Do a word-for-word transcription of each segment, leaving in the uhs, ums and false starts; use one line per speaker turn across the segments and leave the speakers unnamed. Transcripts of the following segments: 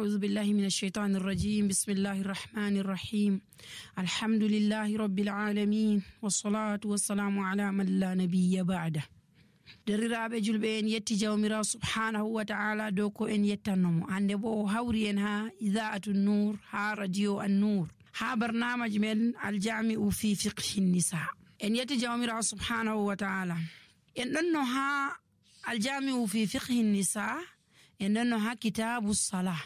أعوذ بالله من الشيطان الرجيم بسم الله الرحمن الرحيم الحمد لله رب العالمين والصلاة والسلام على من لا نبي بعده. deriraɓe julɓe en yetti jawmirawo subhanahu wa ta'ala dow ko en yettannomo hande bo o hawri en ha ida'atu nur ha radio an nur ha barnamaji men aljami'u fi fiqhi nisa. en yetti jawmirawo subhanahu wa ta'ala en ɗonno ha aljami'u fi fiqhi nisa en ɗonno ha kitabu salah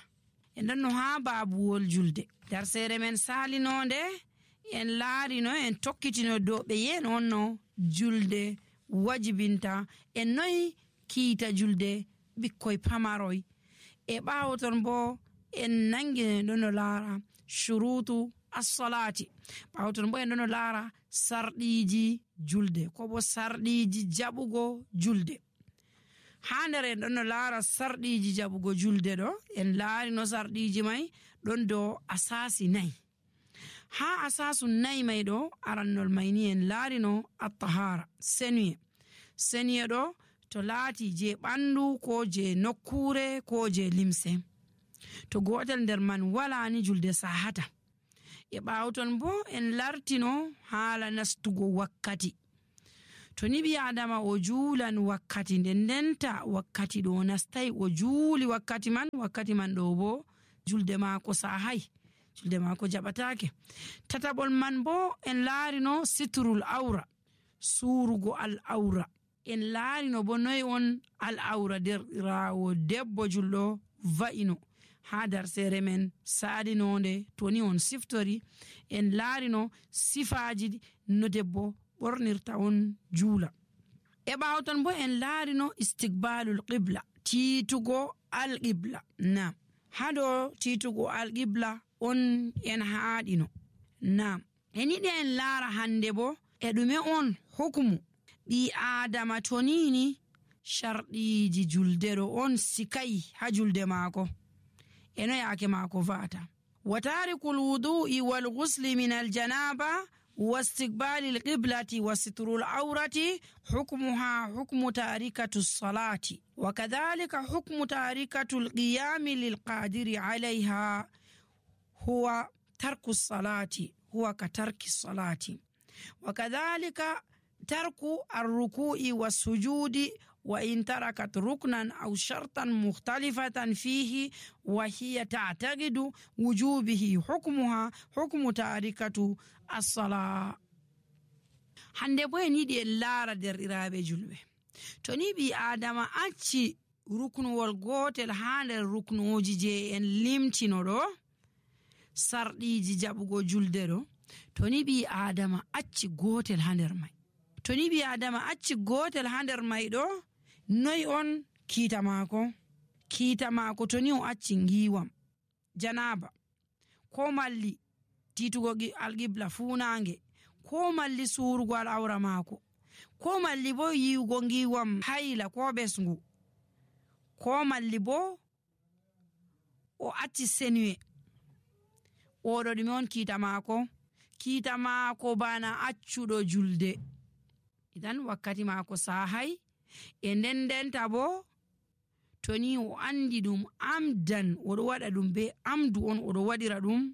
en ɗonno ha babuwol julde. darsere men salinode en laarino en tokkitino dow ɓe yen onno julde wajibinta en noy kiita julde ɓikkoy pamaroy e ɓawo ton bo en nangi ɗono laara shurutu as-salati ɓawo ton bo en ɗono laara sarɗiji julde ko bo sarɗiji jaɓugo julde. ha nder en ɗono laara sarɗiji jaɓugo julde ɗo en laari no sarɗiji may ɗon dow asasi nayi. ha asasu nayi may ɗo arannol mayni en laarino at-tahara senuye senuye ɗo to laati je ɓandu ko je nokkure ko je limse. to gotel nder man wala ni julde sahata. e ɓawton bo en lartino haala nastugo wakkati. to ni ɓi adama o juulan wakkati nden ndenta wakkati ɗo nastai o juuli wakkati man wakkati man ɗo bo julde maako sahay julde maako jaɓatake. tataɓol man bo en laarino sitrul awra surugo al awra. en laarino bo noy on al awra derɗirawo debbo julɗo va'ino ha darsere men saɗinode toni on siftori en laarino sifaji no debbo ɓornirta on juula. e ɓawton bo en laarino istiqbalul qibla tiitugo al qibla. nam hado tiitugo al qibla on en haaɗino. nam en yiɗi en laara hande bo e ɗume on hukumu ɓi adama tonini sharɗiji julde ɗo on sikai ha julde maako eno yaake maako va'ata. wa tarikul wudu'i wal ghusli min al janaba wa istiqbali al qiblati wa sitrul awrati hukmuha hukmu tarikatu salati wa kadhalika hukmu tarikatu al qiyami lil qadiri alayha huwa tarku salati huwa ka tarki salati wa kadhalika tarku ar-ruku'i was-sujudi wa in tarakat ruknan aw shartan mukhtalifatan fihi wa hiya ta'taqidu wujubihi hukmuha hukmu tarikatu as-salah. hande bo en yiɗi en laara derɗiraɓe julɓe to ni ɓi adama acci ruknuwol gotel ha nder ruknuji je en limtino ɗo sarɗiji jaɓugo julde ɗo to ni ɓi adama acci gotel ha nder may to ni ɓi adama acci gotel ha nder may ɗo noy on kiita maako kiita maako to ni o acci ngiwam janaba ko malli titugo alqibla funange ko malli surugo al awra maako ko malli bo yiwugo ngiwam hayla ko ɓesngu ko malli bo o acci senuye oɗo ɗume on kiita maako kiita maako bana accuɗo julde. idan wakkati maako sahay e nden ndenta bo to ni o andi ɗum amdan oɗo waɗa ɗum be amdu on oɗo waɗira ɗum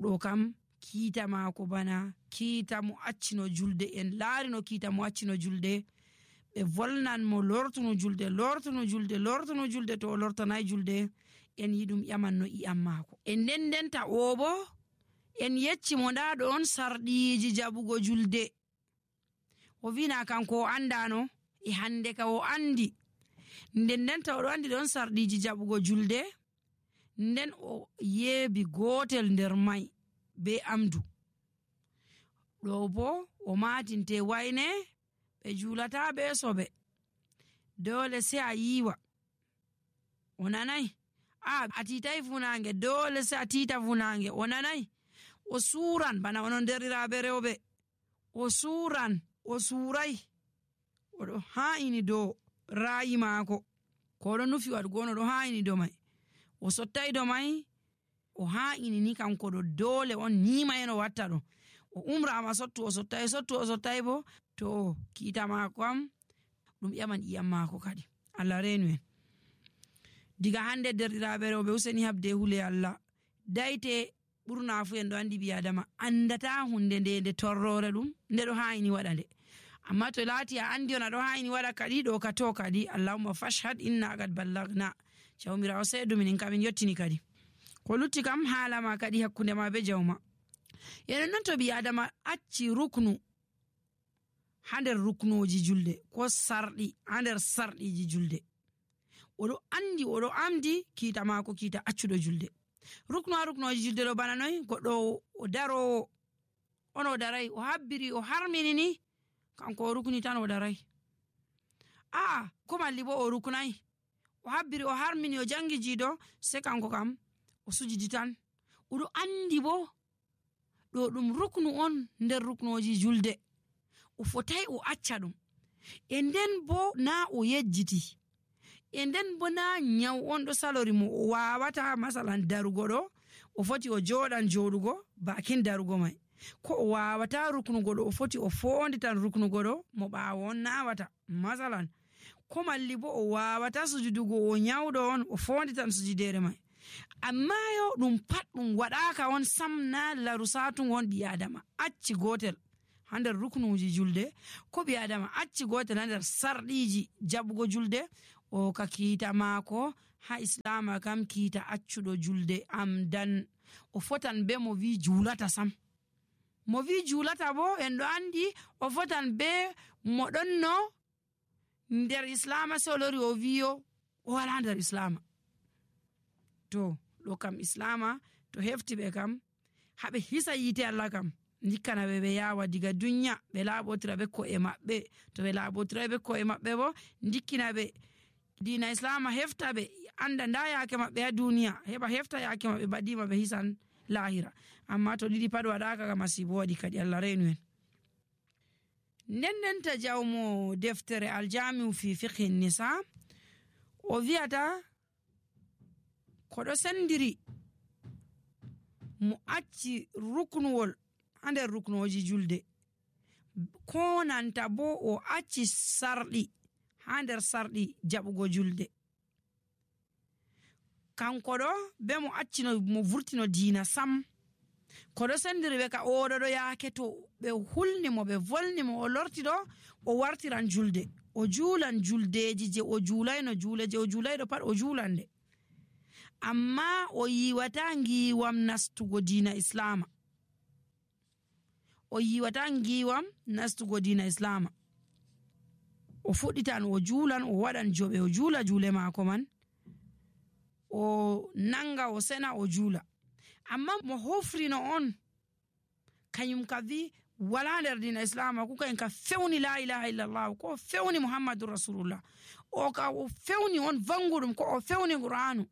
ɗo kam kiita maako bana kiita mo accino julde. en laarino kiita mo accino julde ɓe volnan mo lortuno julde lortuno julde lortuno julde to o lortanay julde en yiɗum ƴamanno iyam maako. e nden ndenta o bo en yecci mo nda ɗon sarɗiji jaɓugo julde o wina kanko o andano e hande ka o andi nden ndenta oɗo andi ɗon sarɗiji jaɓugo julde nden o yeebi gotel nder may be amdu ɗo bo o matinte wayne ɓe julata ɓe soɓe dole se a yiwa o nanay a a titay funange dole se a tita funange o nanay o suran bana onon derɗiraɓe rewɓe o suran o suray oɗo ha'ini dow rayi maako ko oɗo nufi waɗugo on oɗo ha'ini dow may o sottay dow may o ha'ini ni kanko ɗo dole on nima en o watta ɗo o umrama sottu o sottay sottu o sottay bo to kiita maako am ɗum ƴaman iyam maako kadi Allah renu en. diga hande derɗiraɓe rewɓe useni habde hule Allah dayte ɓurna fu en ɗo andi ɓi adama andata hunde nde nde torrore ɗum nde ɗo hayini waɗa nde amma to laati a andi on aɗo hayini waɗa kadi ɗo ka to kadi allahumma fashhad inna qad ballagna jawmirawo seedo minin kamin yottini kadi ko lutti kam haalama kadi hakkunde ma be jawma enen non to ɓi adama acci ruknu ha nder ruknoji julde ko sarɗi ha nder sarɗiji julde oɗo andi oɗo amdi kiita mako kiita accuɗo julde ruknu ha ruknoji julde ɗo bana noy goɗɗo o darowo on o daray o habbiri o harminini kanko o rukni tan o daray aa ko malli bo o ruknay o habbiri o harmini o jangi jiido se kanko kam o sujidi tan oɗo andi bo ɗo ɗum ruknu on nder ruknoji julde o fotay o acca ɗum e nden bo na o yejjiti e nden bo na nyaw on ɗo salori mo o wawata masalan darugo ɗo o foti o joɗan joɗugo bakin darugo mai ko o wawata ruknugo ɗo o foti o fondi tan ruknugo ɗo mo ɓawo on nawata masalan ko malli bo o wawata sujudugo o nyawɗo on o fondi tan sujudere mai amma yo ɗum pat ɗum waɗaka on sam na laru satugo on ɓi adama acci gotel ha nder ruknuji julde ko ɓi adama acci gotel ha nder sarɗiji jaɓugo julde o ka kiita maako ha islama kam kiita accuɗo julde amdan o fotan be mo wi julata sam mo wi julata bo en ɗo andi o fotan be mo ɗonno nder islama se o lori o wiyo o wala nder islama to ɗo kam islama to hefti ɓe kam haɓe hisa yite Allah kam dikkana ɓe ɓe yawa diga dunya ɓe laaɓotira ɓe ko'e maɓɓe to ɓe laaɓotira ɓe ko'e maɓɓe bo dikkina ɓe dina islama hefta ɓe anda nda yake maɓɓe ha duniya heɓa hefta yake maɓɓe baɗima ɓe hisan lahira amma to ɗiɗi pat waɗaka ka masibo waɗi kadi Allah renu en nden ndenta jawmo deftere aljamiu fi fiqhi nisa o wiyata koɗo sendiri mo acci ruknuwol ha nder ruknoji julde ko nanta bo o acci sarɗi ha nder sarɗi jaɓugo julde kanko ɗo be mo accino mo vurtino diina sam koɗo sendiri ɓe ka oɗo ɗo yaake to ɓe hulnimo ɓe volnimo o lorti ɗo o wartiran julde o juulan juldeji je o juulayno juule je o juulayɗo pat o juulan nde amma o yiwata ngiwam nastugo diina islama o yiwata ngiwam nastugo diina islama o fuɗɗitan o juulan o waɗan joɓe o juula juule maako man o nanga o sena o juula amma mo hofrino on kanyum ka wi wala nder dina islama ko kayen ka fewni la ilaha illallah ko fewni muhammadur rasulullah o ka o fewni on vanguɗum ko o fewni qur'anu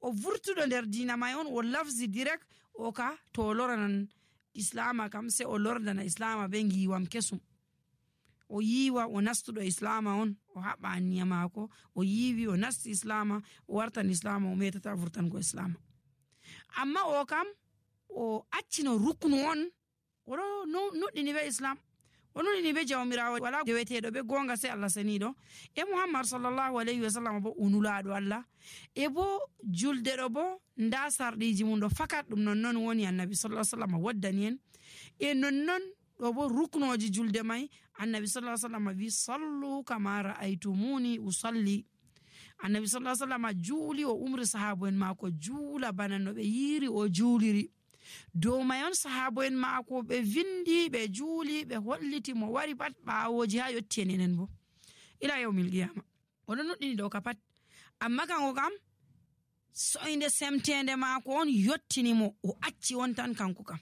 o vurtuɗo nder dina may on o lafzi direct o ka to o loranan islama kam se o lordana islama be ngiwam kesum o yiwa o nastuɗo islama on o haɓɓa anniya maako o yiwi o nasti islama o wartan islama o metata vurtango islama amma o kam o accino ruknu on oɗo nuɗɗini be islam o nuɗɗini be jawmirawo wala deweteɗo be gonga se Allah seniɗo e muhammad sallallahu alayhi wa sallam bo unulaɗo Allah e bo julde ɗo bo nda sarɗiji mum ɗo fakat ɗum nonnon woni annabi sallallahu alayhi wa sallam waddani en e nonnon ɗo bo ruknoji julde may annabi sallallahu alayhi wa sallam wi sallu kama ra'aytumuni usalli annabi sallallahu alayhi wa sallam juuli o umri sahabo en maako juula bana no ɓe yiri o juuliri dow may on sahabo en maako ɓe vindi ɓe juuli ɓe holliti mo wari pat ɓawoji ha yotti en enen bo ila yawmil qiyama oɗo nuɗɗini ɗo ka pat amma kanko kam soyde semtende maako on yottini mo o acci on tan kanko kam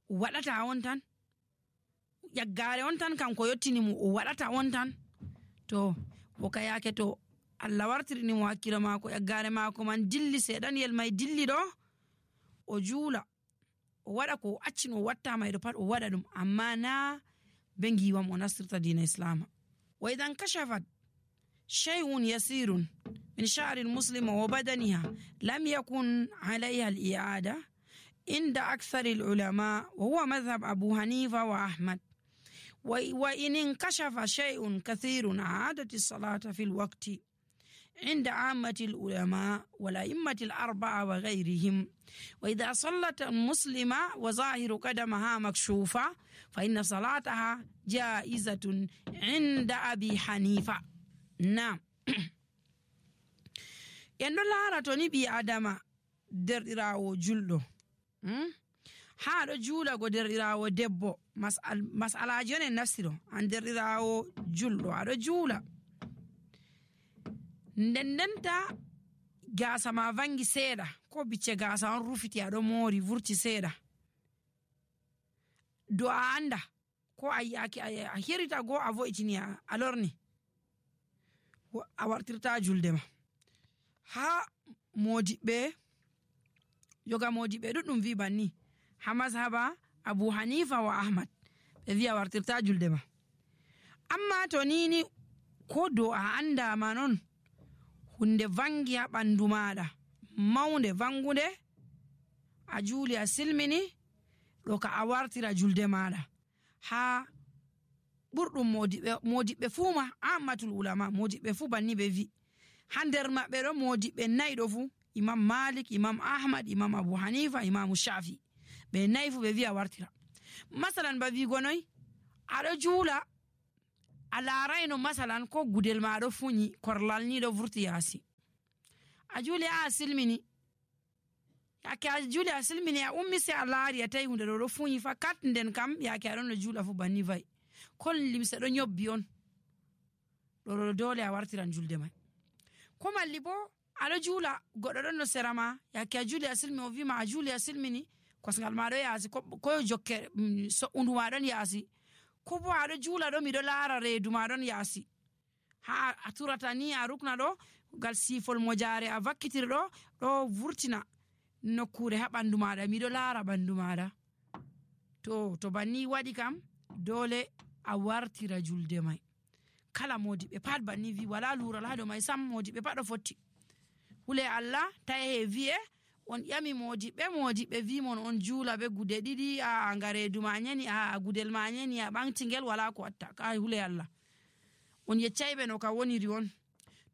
o waɗata on tan yaggare on tan kanko yottini mo o waɗata on tan to o ka yake to Allah wartirini mo hakkilo maako yaggare maako man dilli seeɗanyel may dilli ɗo o juula o waɗa ko o accino o watta mayɗo pat o waɗa ɗum amma na be ngiwam o nastirta dina islama wa idan kashafat shay'un yasirun min sha'ri al-muslima wa badaniha lam yakun alayha al-i'ada inda akthar al-ulama wa huwa madhhab Abu Hanifa wa Ahmad wa in inkashafa shay'un kathirun a'adat as-salata fi al-waqti عند عامة العلماء والأئمة الأربعة وغيرهم. وإذا صلت المسلمة وظاهر قدمها مكشوفة فإن صلاتها جائزة عند أبي حنيفة. نعم. يندو لارا توني بي آدم derɗirawo julɗo hmm? haa ɗo juula go derɗirawo debbo masal masalaji on en naftiro an derɗirawo julɗo aɗo juula nden ndenta gaasa ma vangi seeɗa ko bicce gaasa on rufiti aɗo moori vurti seeɗa do a anda ko a hirita go a vo'itini a lorni a wartirta julde ma ha modiɓɓe yoga modiɓɓe ɗuɗɗum wi banni ha mazhaba Abu Hanifa wa Ahmad ɓe wi a wartirta julde ma amma to nini ko do a andama non hunde vangi ha ɓandu maɗa maunde vangude a juuli a silmini ɗo ka a wartira julde maɗa ha ɓurɗum modiɓɓe modiɓɓe fuu ma ammatul ulama modiɓɓe fuu banni ɓe wi ha nder maɓɓe ɗo modiɓɓe nayi ɗo fuu Imam Malik, Imam Ahmad, Imam Abu Hanifa, Imam Shafi ɓe nayi fuu ɓe wi a wartira masalan ba wi gonoy aɗo juula a laarayno masalan ko gudel ma ɗo fuñi korlal ni ɗo vurti yaasi a juuli a silmini yake a juuli a silmini a ummi se a laari a tawi hunde ɗo ɗo fuñi fa kat nden kam yake aɗon no juula fu banni vayi kol limse ɗo nyobbi on ɗo ɗo dole a wartiran julde mai ko malli bo aɗo juula goɗɗo ɗon no sera ma yake a juuli a silmini o wima a juuli a silmini kosngal ma ɗo yaasi ko jokke so'undu ma ɗon yaasi ko bo aɗo juula ɗo miɗo laara reedu ma ɗon yaasi ha a turata ni a rukna ɗo gal sifol mojare a vakkitiri ɗo ɗo vurtina nokkure ha ɓandu maɗa miɗo laara ɓandu maɗa to to banni waɗi kam dole a wartira julde mai kala modiɓe pat banni wi wala lural ha dow mai sam modiɓe pat ɗo fotti hule Allah taye wi'e on ƴami modiɓɓe modiɓɓe wi mon on juula be gude ɗiɗi a ngaredu ma nyani a gudel ma nyani a ɓantingel wala ko watta ka hule Allah on yeccayɓe no ka woniri on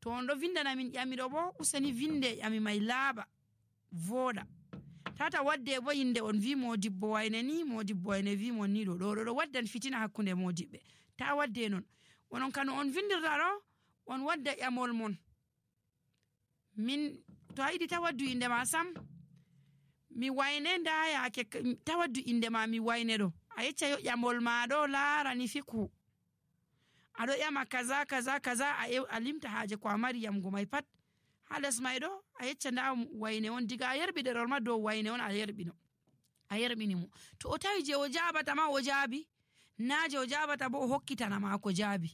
to on ɗo vindana min ƴamiɗo bo useni vinde ƴami mai laaɓa voɗa tata wadde bo yinde on wi modibbo wayne ni modibbo wayne wi mon ni ɗo ɗo ɗo waddan fitina hakkunde modiɓɓe ta wadde non onon kano on vindirta ɗo on wadda ƴamol mon min to a yiɗi tawaddu inde ma sam mi wayne nda yake tawaddu inde ma mi wayne ɗo a yecca yo ƴamol ma ɗo laarani fiku aɗo ƴama kaza kaza kaza a limta haaje ko a mari yamgo mai pat ha les mai ɗo a yecca nda wayne on diga a yerɓi ɗerol ma dow wayne on a yerɓino a yerɓini mo to o tawi je o jabata ma o jaabi na je o jabata bo o hokkitana ma ko jaabi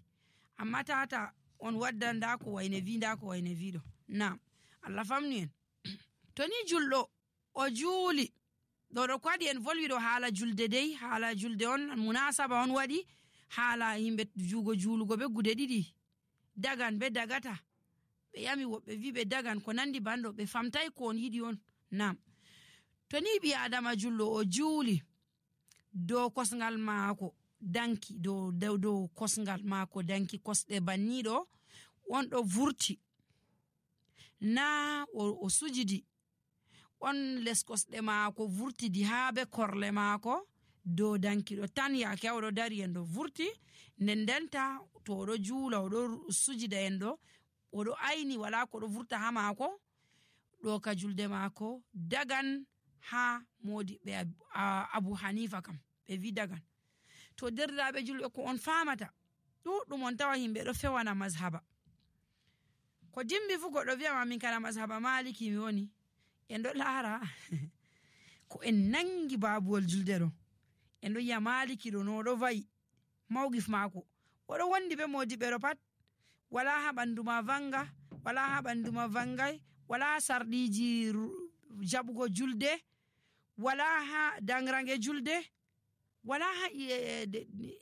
amma tata on wadda nda ko wayne wi nda ko wayne wi ɗo na Allah famni en to ni julɗo o juuli ɗo ɗo ko waɗi en volwi ɗo haala julde dey haala julde on munasaba on waɗi haala yimɓe juugo juulugo be gude ɗiɗi dagan be dagata ɓe yami woɓɓe wi ɓe dagan ko nandi banɗo ɓe famtay ko on yiɗi on nam to ni ɓi adama julɗo o juuli dow kosngal maako danki dow dow dow kosngal maako danki kosɗe banniɗo on ɗo vurti na o, o sujidi on les kosɗe maako vurtidi haa be korle maako dow dankiɗo tan yaake oɗo dari en ɗo vurti nden ndenta to oɗo juula oɗo sujida en ɗo oɗo ayni wala ko ɗo vurta ha maako ɗo ka julde maako dagan ha modiɓɓe Abu Hanifa kam ɓe wi dagan to derɗiraɓe julɓe ko on famata ɗuɗɗum on tawa yimɓe ɗo fewana mazhaba ko dimbi fu goɗɗo wiyama min kana mazhaba maliki mi woni en ɗo laara ko en nangi babuwol julde ɗo en ɗo yiya maliki ɗo no ɗo vayi mawgif maako oɗo wondi be modiɓɓe ɗo pat wala ha ɓandu ma vanga wala ha ɓandu ma vangay wala sarɗiji jaɓugo julde wala ha dangrange julde wala ha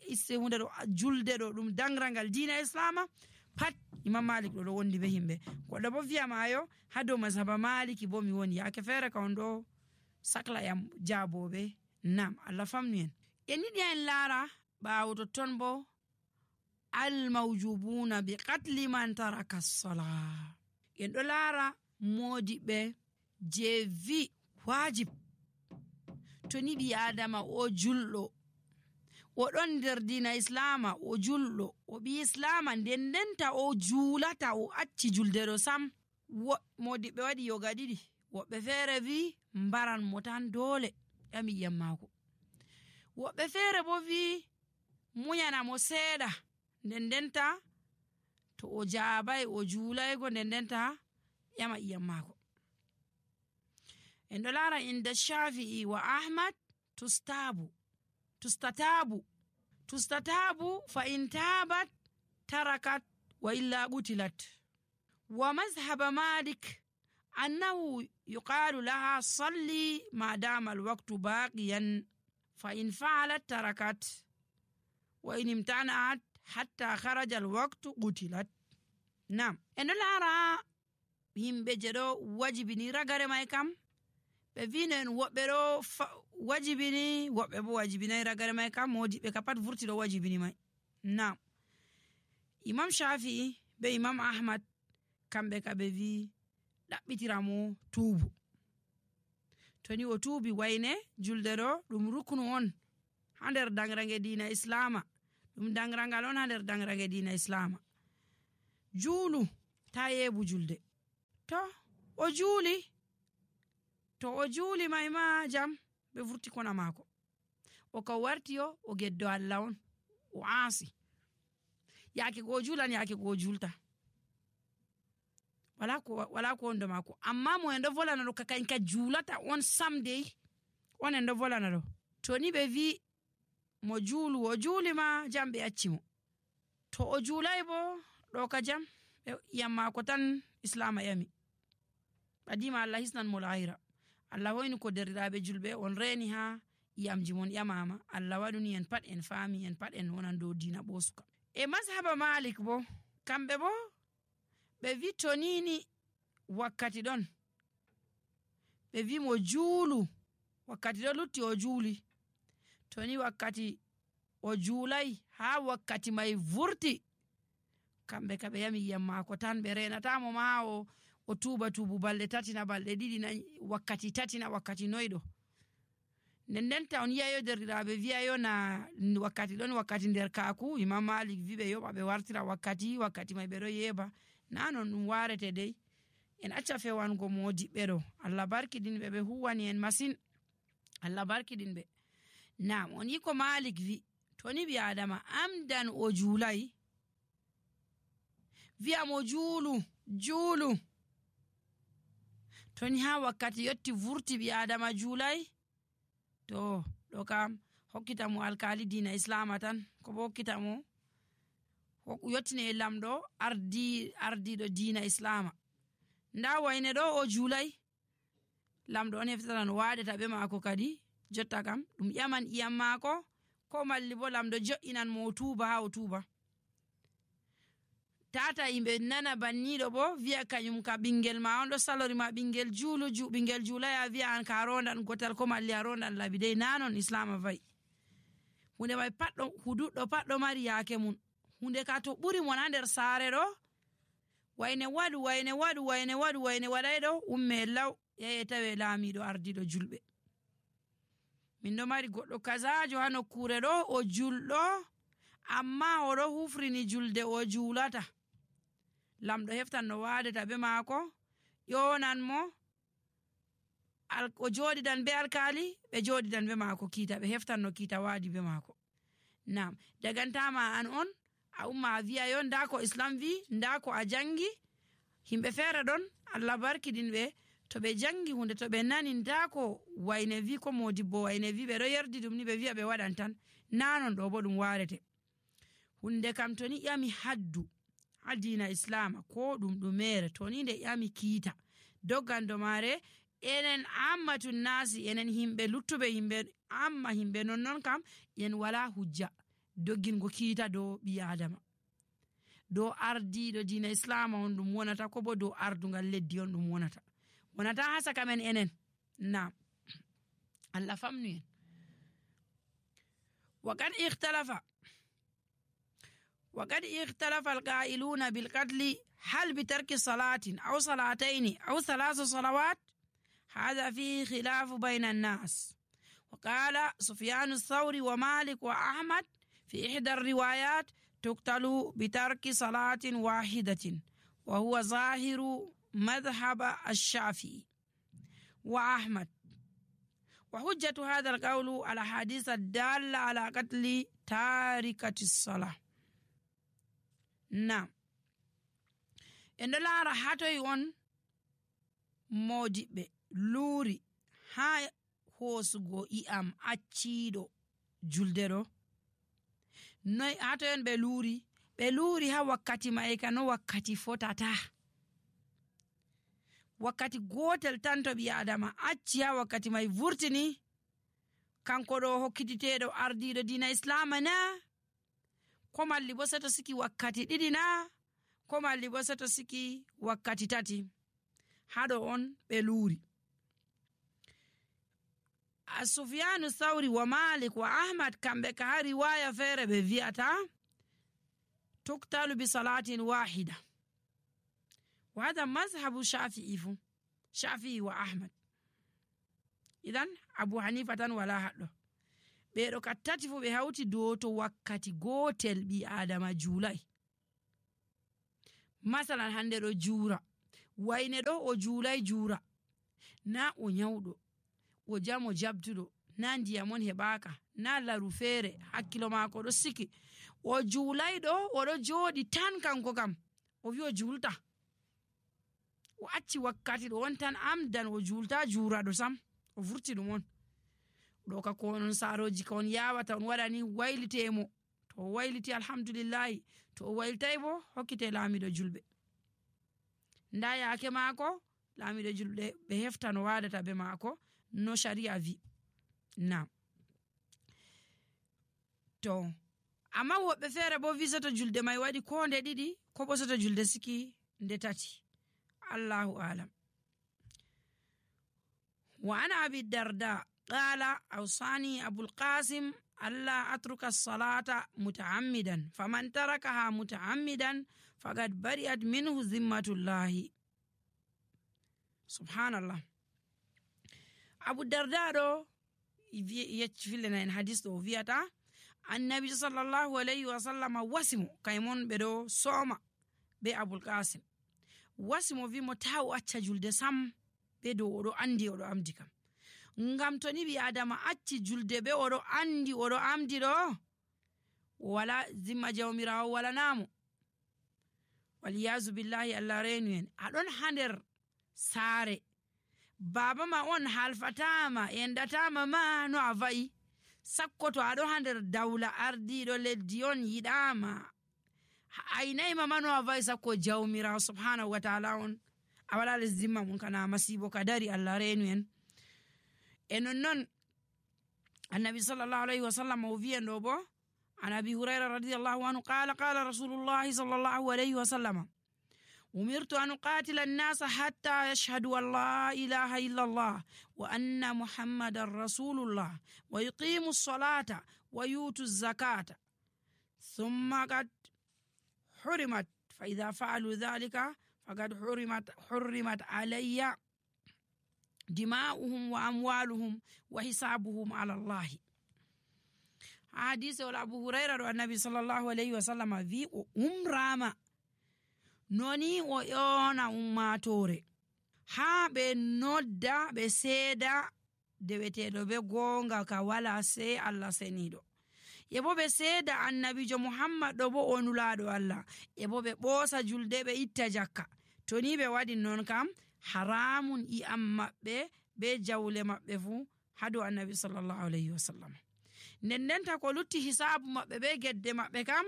isse hunde ɗo julde ɗo ɗum dangrangal dina islama pat Imam Malik ɗo ɗo wondi be himɓe goɗɗo bo wiyamayo ha dow mazhaba maliki bo mi woni yake feere ka on ɗo sakla yam jaaboɓe nam Allah famnu en en yiɗi en laara ɓaawo totton bo al mawjubuna bi qatli man taraka as-salah en ɗo laara modiɓɓe je vi wajib to ni ɓi adama o julɗo o ɗon nder dina islama o julɗo o ɓi islama nden ndenta o julata o acci julde ɗo sam. Modiɓɓe waɗi yoga ɗiɗi, woɓɓe feere vi mbaran mo tan dole ƴami ƴam maako, woɓɓe feere bo vi muyana mo seeɗa nden ndenta to o jaabai o juulaygo nden ndenta ƴama ƴam maako. En ɗo laara inda Shafi'i wa Ahmad tustabu tustatabu tustatabu fa in tabat tarakat wa illa qutilat. Wa mazhaba Malik annahu yuqalu laha salli ma dama alwaqtu baqiyan fa in fa'alat tarakat wa in imtana'at hatta kharaja alwaqtu qutilat. Nam en ɗo laara yimɓe je ɗo wajibini ragare mai kam ɓe vinen woɓɓe ɗo wajibini woɓɓe bo wajibinai ragare mai kam modiɓɓe ka pat vurti ɗo wajibini mai. Nam Imam Shafi'i be Imam Ahmad kamɓe ka ɓe vi ɗaɓɓitira mo tuubu, to ni o tuubi wayne julde ɗo ɗum ruknu on ha nder dangrange dina islama, ɗum dangrangal on ha nder dangrange dina islama. Juulu ta yebu julde, to o juuli to o juuli mai ma jam ɓe vurti kona maako, o ka warti yo o geddo Allah on o aasi, yaake go juulan yaake go julta wala ko wala ko ondo maako. Amma mo en ɗo volana ɗo kakañ ka juulata on sam dey on en ɗo volana ɗo, to ni ɓe vi mo juulu o juuli ma jam ɓe acci mo, to o juulay bo ɗo ka jam ƴam maako tan islama ƴami. Ɓadima Allah hisnan mo lahira, Allah hoyni ko derɗiraɓe julɓe on reni ha iyamji mon ƴamama, Allah waɗuni en pat en faami en pat en wonan dow dina ɓosuka. E mazhaba Malik bo kamɓe bo ɓe vi to nini wakkati ɗon ɓe vi mo juulu wakkati ɗo lutti o juuli, to ni wakkati o juulay ha wakkati mai vurti kamɓe ka ɓe yami yiyam maako tan, ɓe renatamo ma o o tuuba tuubu balɗe tati na balɗe ɗiɗi na wakkati tati na wakkati noyɗo. Nden ndenta on yiyayo derɗiraɓe wiyayo na wakkati ɗon wakkati nder kaaku, Imam Malik vi ɓe yoɓa ɓe wartira wakkati wakkati mai ɓe ɗo yeeba, na non ɗum warete dey. En acca fewango modiɓɓe ɗo, Allah barkidinɓe ɓe huwani en masin, Allah barkidinɓe. Nam on yi ko Malik vi to ni ɓi adama amdan o juulay wi'a mo juulu juulu, to ni ha wakkati yotti vurti ɓi adama juulay, to ɗo kam hokkita mo alkali dina islama tan, ko bo hokkita mo yottine e lamɗo ardi ardiɗo dina islama. Nda wayne ɗo o juulay, lamɗo on heftata no waɗeta ɓe maako kadi jotta kam ɗum ƴaman iyam maako, ko malli bo lamɗo jo'inan mo o tuuba ha o tuuba. Tata yimɓe nana banniɗo bo wi'a kañum ka ɓingel ma on ɗo salori ma ɓingel juulu ju ɓingel juulay a wi'a an ka rondan gotal ko malli a rondan labi dey, nanon islama vayi. Hunde mai pat ɗo huduɗɗo pat ɗo mari yaake mun, hunde ka to ɓuri mon ha nder saare ɗo wayne waɗu wayne waɗu wayne waɗu wayne waɗay ɗo umme law yaye tawe laamiɗo ardiɗo julɓe. Min ɗo mari goɗɗo kazajo ha nokkure ɗo o julɗo amma o ɗo hufrini julde o juulata, lamɗo heftan no waɗeta be maako ƴonan mo o joɗidan be alkali ɓe joɗidan be maako kiita, ɓe heftan no kiita waadi be maako. Nam dagantama an on a umma a wi'a yo nda ko islam vi, nda ko a jangi, himɓe feere ɗon Allah barkidinɓe to ɓe jangi hunde to ɓe nani nda ko wayne vi ko modibbo wayne vi, ɓe ɗo yerdi ɗum ni ɓe wi'a ɓe waɗan tan, nanon ɗo bo ɗum warete. Hunde kam to ni ƴami haddu ha dina islama ko ɗum ɗumere, to ni nde ƴami kiita doggando mare enen ammatun nasi, enen himɓe luttuɓe himɓe amma himɓe non non kam en wala hujja doggingo kiita dow ɓi adama, dow ardiɗo dina islama on ɗum wonata, ko bo dow ardungal leddi on ɗum wonata, wonata ha saka men enen. Nam Allah famnu en. Wa kad ikhtalafa وقد اختلف القائلون بالقتل هل بترك صلاة أو صلاتين أو ثلاث صلوات، هذا فيه خلاف بين الناس. وقال سفيان الثوري ومالك وأحمد في إحدى الروايات تقتل بترك صلاة واحدة، وهو ظاهر مذهب الشافعي وأحمد. وحجة هذا القول الأحاديث الدالة على قتل تاركة الصلاة. نعم، إن لا راحته يون موجب لوري هاي hosugo i'am acciiɗo julde ɗo noy hato en ɓe luuri ɓe luuri ha wakkati maika no wakkati fotata, wakkati gotel tan to ɓi adama acci ha wakkati mai vurtini kanko ɗo hokkititeɗo ardiɗo dina islama na, ko malli bo seto siki wakkati ɗiɗi na, ko malli bo seto siki wakkati tati. haɗo on ɓe luuri. Sufyanu Thawri wa Malik wa Ahmad kamɓe ka ha riwaya feere ɓe wi'ata tuktalu bi salatin wahida, wa hada mazhabu Shafi'i fu Shafi'i wa Ahmad. idan Abu Hanifa tan wala haɗɗo. ɓeɗo ka tati fu ɓe hawti dow to wakkati gotel ɓi adama juulay. masalan hande ɗo juura, wayne ɗo o juulay juura, na o nyawɗo, o jamo jabtuɗo, na ndiyamon heɓaka, na laru feere, hakkilo maako ɗo siki, o juulay ɗo oɗo jooɗi tan kanko kam o wi o juulta, o acci wakkati ɗo on tan amdan o juulta juuraɗo sam, o vurti ɗum on ɗo ka ko on saroji ka on yawata on waɗani waylitemo. to o wayliti alhamdulillahi, to o waylitay bo hokkite laamiɗo julɓe. nda yaake maako laamiɗo julɓe ɓe hefta no waɗata be maako no sharia vi. na to amma woɓɓe feere bo wi soto julde mai waɗi ko nde ɗiɗi ko bo soto julde siki nde tati. allahu alam. wa ana abi darda qala awsani abul qasim alla atruka as-salata mutaammidan faman tarakaha mutaammidan faqad bari'at minhu zimmatullahi. subhanallah. Abu Darda ɗo yecci fillena en hadis ɗo wiyata annabi sallallahu alayhi wa sallam wasimo kaymon ɓe ɗo sooma be Abul Qasim. wasimo wimo ta o acca julde sam be dow oɗo andi oɗo amdi kam, ngam to ni ɓi adama acci julde be oɗo andi oɗo amdi ɗo wala zimma jawmirawo wala namo, waliyazu billahi allah renu en. aɗon ha nder saare, baba ma on halfatama endatama ma no a va'i, sakko to aɗo ha nder dawla ardiɗo leddi on yiɗama aynayma ma no a va'i, sakko jawmirawo subhanahu wa ta'ala on a wala les zimma mum, kana masibo ka dari allah renu en. e nonnon annabi sallallahu alayhi wa sallam o wiyan ɗo bo an abi hurayra radiyallahu anhu qala qala rasulullahi sallallahu alayhi wa sallam umirtu an uqatila an-nasa hatta yashhadu an la ilaha illa Allah wa anna muhammadan rasulullah wa yuqimu as-salata wa yutu az-zakata thumma qad hurimat fa idha fa'alu dhalika faqad hurimat hurimat alayya dima'uhum wa amwaluhum wa hisabuhum ala Allah. hadise wala Abu Hurayra do annabi sallallahu alayhi wa sallam vi o umrama noni o yona ummatore ha ɓe nodda ɓe seeda deweteɗo be gonga ka wala sei Allah seniɗo, e bo ɓe seeda annabijo Muhammad ɗo bo onulaɗo Allah, e bo ɓe ɓoosa julde ɓe itta jakka. to ni ɓe waɗi non kam haramun i'am maɓɓe be jawle maɓɓe fu hado annabi sallallahu alayhi wa sallam. nden ndenta ko lutti hisabu maɓɓe be gedde maɓɓe kam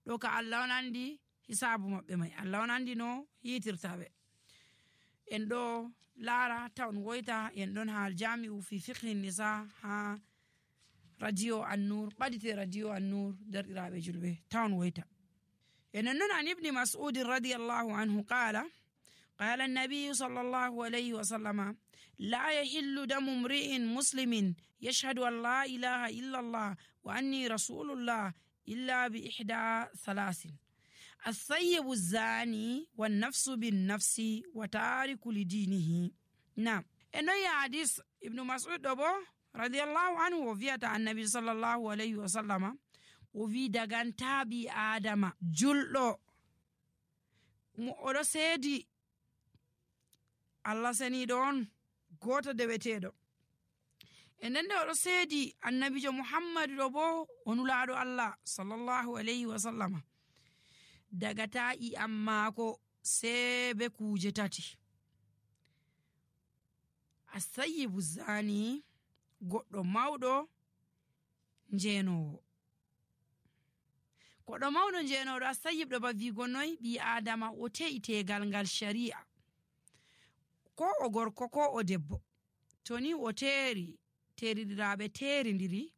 ɗo ka Allah on andi hisabu maɓɓe mai, Allah on andi no yitirtaɓe. en ɗo laara tawn woyta en ɗon ha aljami'u fi fiqhi nisa ha radio an-nur, ɓadite radio an-nur derɗiraɓe julɓe tawn woyta. enen non an ibni mas'ud radiyallahu anhu qala قال النبي صلى الله عليه وسلم لا يحل دم امرئ مسلم يشهد أن لا إله إلا الله وأني رسول الله إلا بإحدى ثلاث الثيب الزاني والنفس بالنفس وتارك لدينه. نعم إنه حديث ابن مسعود أبو رضي الله عنه وفيات عن النبي صلى الله عليه وسلم وفي دغان تابي آدم جلو مؤلو سيدي الله سنيدون goto deweteɗo e nden nde oɗo seedi annabijo muhammadu ɗo bo onulaaɗo allah sallallahu alayhi wa sallama dagata i am maako see be kuuje tati. asayibu zani goɗɗo mawɗo njenowo goɗɗo mawɗo njenoɗo asayib ɗo ba wigo noy ɓi adama o te'i tegal ngal shari'a ko o gorko ko o debbo to ni o teeri teeridiraaɓe teerindiri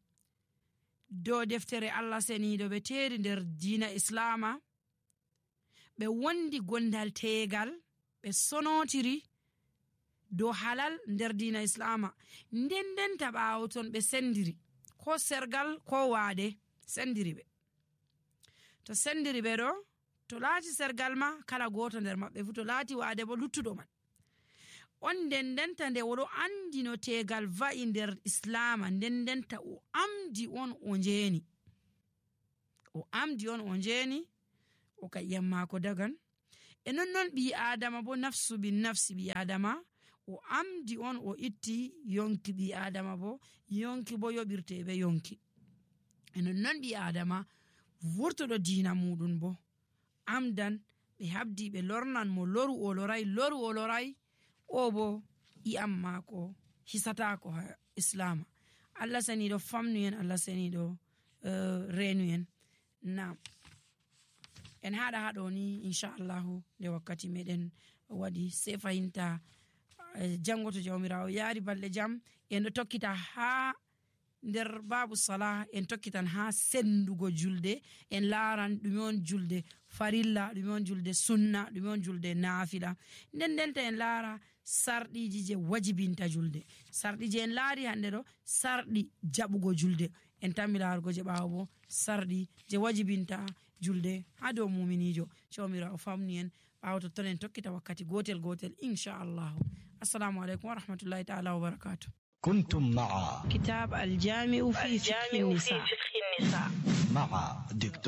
dow deftere Allah seniiɗo ɓe teeri nder diina islama ɓe wondi gondal teegal ɓe sonotiri dow halal nder diina islama nden ndenta ɓaawo ton ɓe sendiri ko sergal ko waade sendiri ɓe to sendiri ɓe ɗo to laati sergal ma kala gooto nder maɓɓe fu to laati waade bo luttuɗo man on nden ndenta nde oɗo andi no tegal va'i nder islama nden ndenta o amdi on o njeeni o amdi on o njeeni o ka iyam maako dagan e non non ɓi adama bo nafsu bin nafsi ɓi adama o amdi on o itti yonki ɓi adama bo yonki bo yoɓirte ɓe yonki e non non ɓi adama vurtoɗo diina muɗum bo amdan ɓe habdi ɓe lornan mo loru o loray loru o loray o bo i'am maako hisatako ha islama. Allah saniɗo famnu en, Allah saniɗo uh, renu en. Nam en haɗa haɗo ni inchallahu nde wakkati meɗen waɗi sei fayinta uh, jango to jawmirawo yaari balɗe jam en ɗo tokkita ha nder babu salah en tokkitan ha sendugo julde en laran ɗume on julde farilla ɗume on julde sunna ɗume on julde naafila nden ndenta en laara sarɗiji je wajibinta julde sarɗi je en laari hande ɗo sarɗi jaɓugo julde en tammi laarugo je ɓaawo bo sarɗi je wajibinta julde ha dow muminijo jawmirawo famni en ɓaawo totton en tokkita wakkati gotel gotel inchallahu. assalamu aleykum wa rahmatullahi taala wa barakatuh.
كنتم مع
كتاب الجامع في فقه النساء
مع دكتور